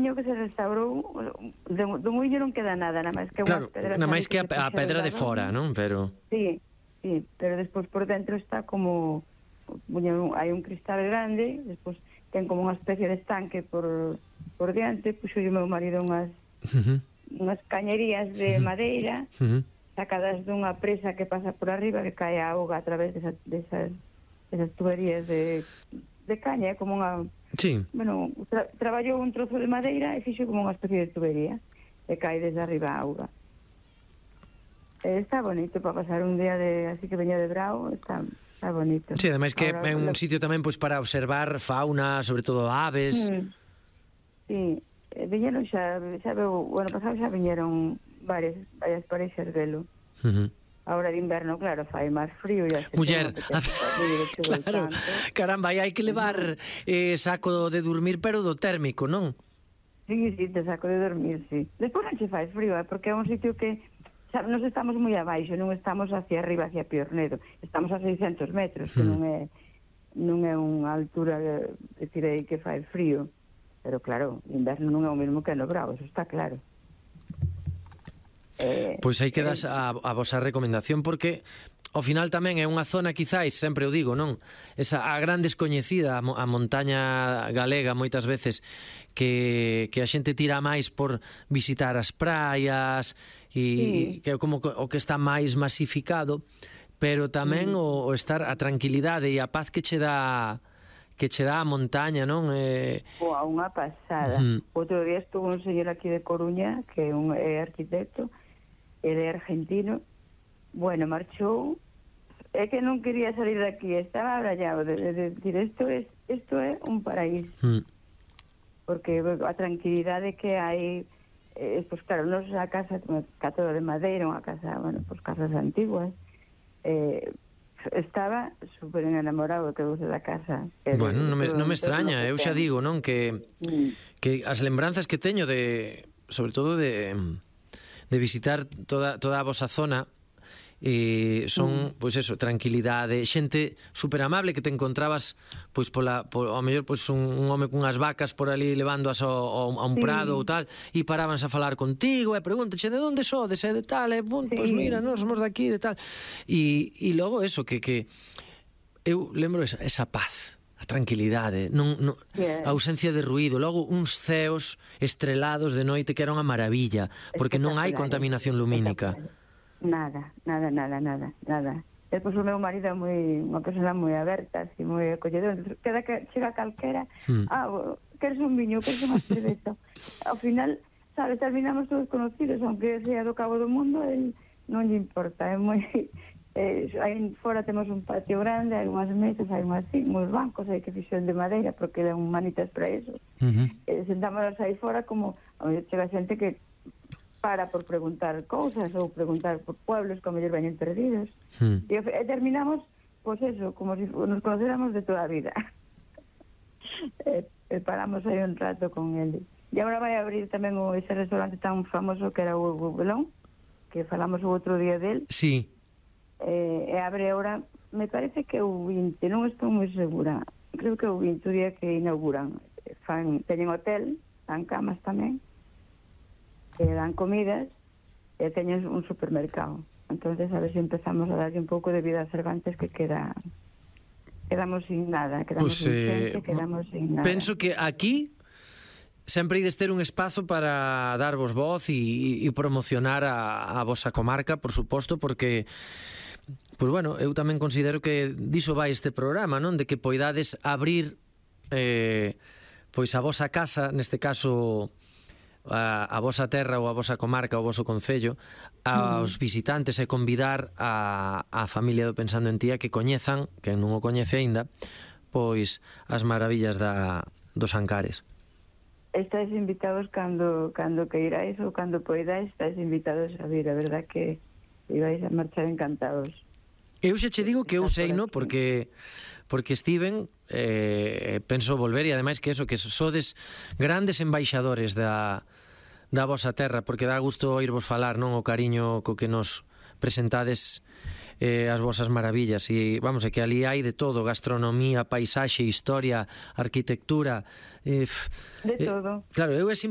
muiño que se restaurou, do muiño non queda nada, nada máis que claro, unhas pedras. nada máis que a pedra de Adorno. fora, non? Pero Sí, pero despois por dentro está como hai un cristal grande, despois ten como unha especie de estanque por diante, puxo o meu marido unhas cañerías de madeira sacadas dunha presa que pasa por arriba, que cae a auga a través desas tuberías de caña, é como unha... sí. Bueno, traballou un trozo de madeira e fixo como unha especie de tubería que cae desde arriba a auga. Está bonito para pasar un día así que veña de brao, está bonito. Sí, ademais que é un sitio tamén pois para observar fauna, sobre todo aves. Sí, viñeron xa veu, bueno, pasado xa viñeron varias parexas velo. Ahora de inverno, claro, fai máis frío. Muller, claro, caramba, hai que levar saco de dormir, pero do térmico, non? Sí, de saco de dormir, sí. Despois non che fai frío, porque é un sitio que nos estamos moi abaixo, non estamos hacia arriba, hacia Piornedo, estamos a 600 metros, que non é unha altura, decir aí que fai frío, pero claro, o inverno non é o mesmo que no Bravo, eso está claro. Pois aí quedas a vosa recomendación, porque ao final tamén é unha zona, quizáis, sempre o digo, non? A gran descoñecida, a montaña galega moitas veces, que a xente tira máis por visitar as praias e que é como o que está máis masificado, pero tamén o estar a tranquilidade e a paz que che dá a montaña, non? Unha pasada. Outro día estuvo un señor aquí de Coruña, que é arquitecto, ele é argentino, bueno, marchou, é que non quería salir de aquí, estaba abrallado de decir, isto é un paraíso. Porque a tranquilidade que hai, pues claro, nosa casa, todo de madeira, unha casa, bueno, pues casas antiguas, estaba super enamorado que vos da casa. Bueno, non me extraña, eu xa digo, non, que as lembranzas que teño sobre todo de visitar toda a vosa zona son, pois eso, tranquilidade, xente super amable que te encontrabas pois ao mellor pois un home cunhas vacas por ali levándoas a un prado ou tal, e parábanse a falar contigo e pregúntache de onde sodes, de tal, pois mira, nós somos daqui, de tal, e logo eso, que eu lembro esa paz, a tranquilidade, a ausencia de ruído, logo uns ceos estrelados de noite que era unha maravilla, porque non hai contaminación lumínica. Nada. Despois o meu marido é unha persona moi aberta, así, moi acolledora. Chega calquera, queres un viño, queres unha cerveza. Ao final, sabes, terminamos todos conocidos, aunque sea do cabo do mundo, non lle importa, é moi... aí fora temos un patio grande, hai unhas mesas, hai unhas bancos, hai que fixen de madeira, porque dan manitas para eso. Sentámonos aí fora como... chega xente que para por preguntar cousas ou preguntar por pueblos que a mellor veñen perdidos. E terminamos, pois eso, como se nos conocéramos de toda a vida. Paramos aí un rato con ele. E agora vai abrir tamén ese restaurante tan famoso que era o Belón, que falamos o outro día del. Sí. E abre agora, me parece que o 20, non estou moi segura. Creo que o 20 o día que inauguran. Teñen hotel, dan camas tamén, dan comidas e teñen un supermercado. Entonces a ver se empezamos a darlle un pouco de vida a Cervantes, que quedamos sin nada, quedamos sin xente, quedamos sin nada. Penso que aquí sempre ides ter un espazo para darvos voz e promocionar a vosa comarca, por suposto, porque pois bueno, eu tamén considero que diso vai este programa, non? De que poidades abrir pois a vosa casa, neste caso a vosa terra ou a vosa comarca, o voso concello, aos visitantes, e convidar a familia do Pensando en Ti a que coñezan, que non o coñece aínda, pois as maravillas dos Ancares. Estáis invitados cando queiráis ou cando poidáis, estáis invitados a vir, a verdad que ibais a marchar encantados. Eu xa che digo que eu sei, no, porque estiven, penso volver, e ademais que eso, que sodes grandes embaixadores da vosa terra, porque dá gusto oírvos falar, non, o cariño co que nos presentades as vosas maravillas, e vamos, é que ali hai de todo, gastronomía, paisaxe, historia, arquitectura, de todo. Claro, eu é